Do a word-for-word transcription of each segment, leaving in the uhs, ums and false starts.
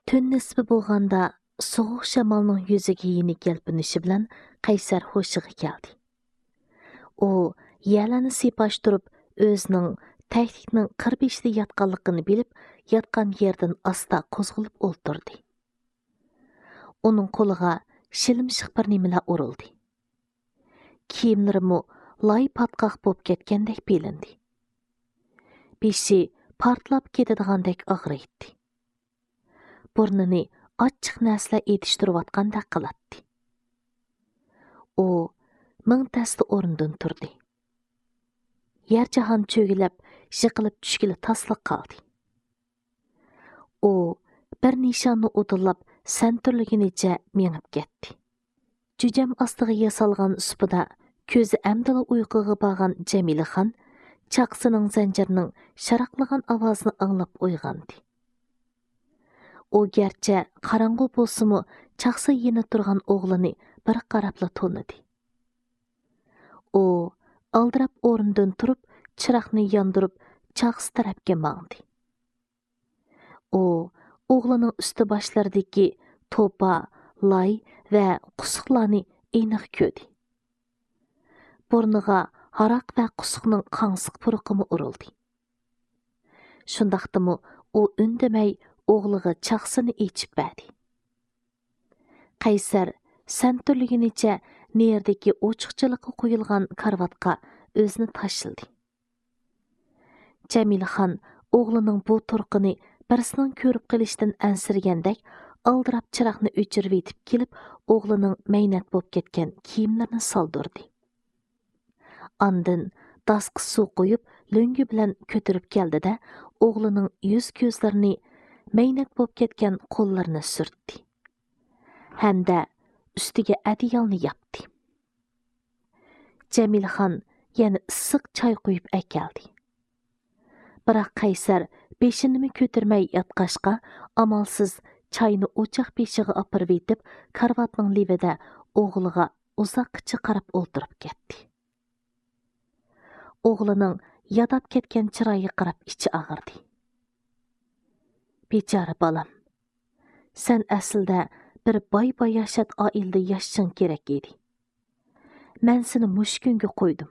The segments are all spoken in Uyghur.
تۈن نىسپى بولغاندا سوغۇق شامالنىڭ يۈزىگە يېنىك يەلپۈنۈشى بىلەن قەيسەر ھوشىغا كەلدى. ئۇ يەرلەرنى سىيپاشتۇرۇپ، ئۆزىنىڭ تەكلىكنىڭ قىر بېشىدا ياتقانلىقىنى بىلىپ، ياتقان يېرىدىن ئاستا قوزغىلىپ ئولتۇردى. ئۇنىڭ قولىغا شىلىمشىق بىر نېمىلەر ئۇرۇلدى. كىيىملىرىمۇ لاي پاتقاق بولۇپ كەتكەندەك بىلىندى. بېشى پارتلاپ كېتىدىغاندەك ئاغرىيتتى. بۇرنىنى ئاچچىق نەرسىلەر ئېتىشتۇرۇۋاتقاندەك قىلاتتى. ئۇ مىڭ تەستە ئورنىدىن تۇردى. يەر جاھان چۆگىلەپ، يىقىلىپ چۈشكىلى تاسلا قالدى. ئۇ بىر نىشاننى ئۇدۇللاپ سەنتۈرلىگىنىچە مېڭىپ كەتتى. جۈجەم ئاستىغا ياسالغان سۇپىدا كۆزى ئەمدىلا ئۇيقۇغا بارغان جەمىلىخان چاقىسىنىڭ زەنجىرىنىڭ شاراقلىغان ئاۋازىنى ئاڭلاپ ئويغاندى. ئۇ گەرچە قاراڭغۇ بولسىمۇ، چاقىسى يېنىپ تۇرغان ئوغلىنى بىر قاراپلا تونۇدى. ئۇ ئالدىراپ ئورنىدىن تۇرۇپ، چىراغنى ياندۇرۇپ، چاقىسى تەرەپكە ماڭدى. ئۇ ئوغلىنىڭ ئۈستى باشلىرىدىكى توپا، لاي ۋە قۇسۇقلارنى ئېنىق كۆردى. بۇرنىغا ھاراق ۋە قۇسۇقنىڭ قاڭسىق پۇرىقىمۇ ئۇرۇلدى. شۇنداقتىمۇ ئۇ ئۈندىمەي ئوغلىغا چاقىسىنى ئېچىپ بەردى. قەيسەر سەنتۈرلىگىنىچە نېرىدىكى ئوچۇقچىلىققا قويۇلغان كارىۋاتقا ئۆزىنى تاشلىدى. جەمىلىخان ئوغلىنىڭ بۇ تۇرقىنى بىرسىنىڭ كۆرۈپ قېلىشىدىن ئەنسىرىگەندەك، ئالدىراپ چىراغنى ئۆچۈرۈۋېتىپ كېلىپ، ئوغلىنىڭ مەينەت بولۇپ كەتكەن كىيىملىرىنى سالدۇردى. ئاندىن داسقا سۇ قۇيۇپ، لۆڭگە بىلەن كۆتۈرۈپ كەلدى-دە، ئوغلىنىڭ يۈز-كۆزلىرىنى، مەينەت بولۇپ كەتكەن قوللىرىنى سۈرتتى ھەمدە ئۈستىگە ئەدىيالنى ياپتى. جەمىلىخان يەنە ئىسسىق چاي قۇيۇپ ئەكەلدى. بىراق قەيسەر بېشىنىمۇ كۆتۈرمەي ياتقاچقا، ئامالسىز چاينى ئوچاق بېشىغا ئاپىرىۋېتىپ، كارىۋاتنىڭ لېۋىدە ئوغلىغا ئۇزاققىچە قاراپ ئولتۇرۇپ كەتتى. ئوغلىنىڭ ياداپ كەتكەن چىرايىغا قاراپ ئىچى ئاغرىدى. بىچارە بالام، سەن ئەسلىدە بىر باي-باياشات ئائىلىدە ياشىشىڭ كېرەك ئىدى. مەن سېنى مۇشۇ كۈنگە قويدۇم.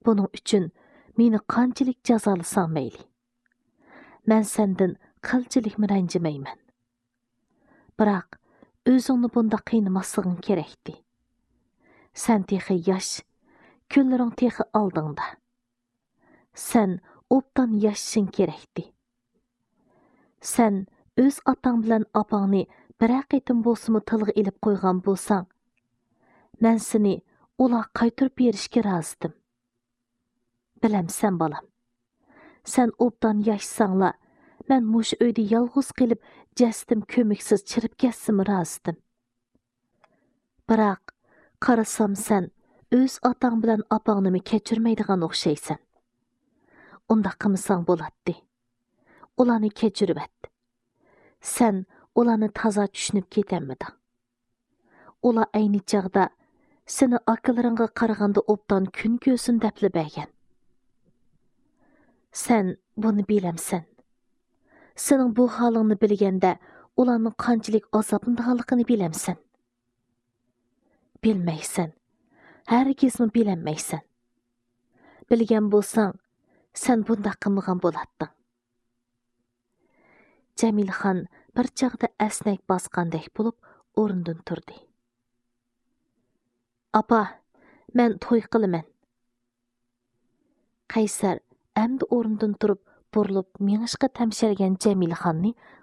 بۇنىڭ ئۈچۈن مېنى قانچىلىك جازالىساڭ مەيلى. مەن سەندىن قىلچىلىكمۇ رەنجىمەيمەن. بىراق، ئۆزۈڭنى بۇنداق قىينىماسلىقىڭ كېرەكتى. سەن تېخى ياش، كۈنلىرىڭ تېخى ئالدىڭدا. سەن ئوبدان ياشىشىڭ كېرەكتى. سەن ئۆز ئاتاڭ بىلەن ئاپاڭنى بىرەر قېتىم بولسىمۇ تىلغا ئېلىپ قويغان بولساڭ، مەن سېنى ئۇلارغا قايتۇرۇپ بېرىشكە رازىدىم. بىلەمسەن، بالام؟ سەن ئوبدان ياشىساڭلا، مەن مۇشۇ ئۆيدە يالغۇز قېلىپ، جەسىتىم كۆمۈكسىز چىرىپ كەتسىمۇ رازىدىم. بىراق، قارىسام، سەن ئۆز ئاتاڭ بىلەن ئاپاڭنىمۇ كەچۈرمەيدىغان ئوخشايسەن. ئۇنداق قىلمىساڭ بولاتتى. ئۇلارنى كەچۈرۈۋەت. سەن ئۇلارنى تازا چۈشىنىپ كېتەلمىدىڭ. ئۇلار ئەينى چاغدا سېنى ئاكىلىرىڭغا قارىغاندا ئوبدان كۈن كۆرسۇن دەپلا بەرگەن. سەن بۇنى بىلەمسەن؟ سېنىڭ بۇ ھالىڭنى بىلگەندە، ئۇلارنىڭ قانچىلىك ئازابلىنىدىغانلىقىنى بىلەمسەن؟ بىلمەيسەن. ھەرگىزمۇ بىلەلمەيسەن. بىلگەن بولساڭ، سەن بۇنداق قىلمىغان بولاتتىڭ. جەمىلىخان بىر چاغدا ئەسنەك باسقاندەك بولۇپ ئورنىدىن تۇردى. ئاپا، مەن توي قىلىمەن. قەيسەر ئەمدى ئورنىدىن تۇرۇپ، بۇرۇلۇپ مېڭىشقا تەمشەلگەن جەمىلىخاننى